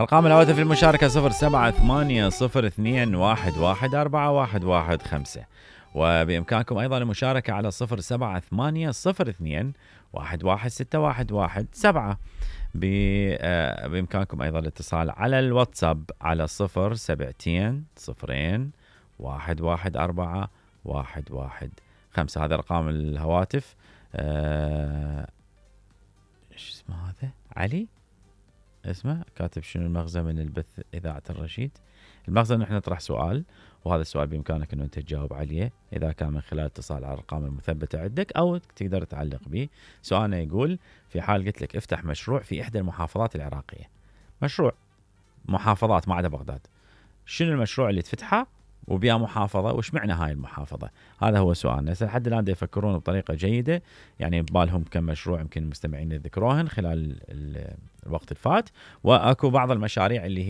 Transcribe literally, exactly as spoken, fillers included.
أرقام الهواتف للمشاركة صفر سبعة ثمانية صفر اثنين واحد واحد أربعة واحد واحد خمسة، وبإمكانكم أيضا المشاركة على صفر سبعة ثمانية صفر اثنين واحد واحد ستة واحد واحد سبعة. بإمكانكم أيضا الاتصال على الواتساب على صفر سبعتين صفرين واحد واحد أربعة واحد واحد خمسة. هذا أرقام الهواتف. أه... إيش اسمه هذا؟ علي اسمه كاتب شنو المغزى من البث إذاعة الرشيد. المغزى أن احنا نطرح سؤال، وهذا السؤال بإمكانك أنه أنت تجاوب عليه إذا كان من خلال اتصال على الأرقام المثبتة عندك، أو تقدر تعلق به. سؤالنا يقول: في حال قلت لك افتح مشروع في إحدى المحافظات العراقية، مشروع محافظات ما عدا بغداد، شنو المشروع اللي تفتحه وبيا محافظة وش معنى هاي المحافظة؟ هذا هو سؤالنا. لحد الآن دا يفكرون بطريقة جيدة، يعني ببالهم كم مشروع يمكن المستمعين يذكروهن خلال الوقت الفات، وأكو بعض المشاريع اللي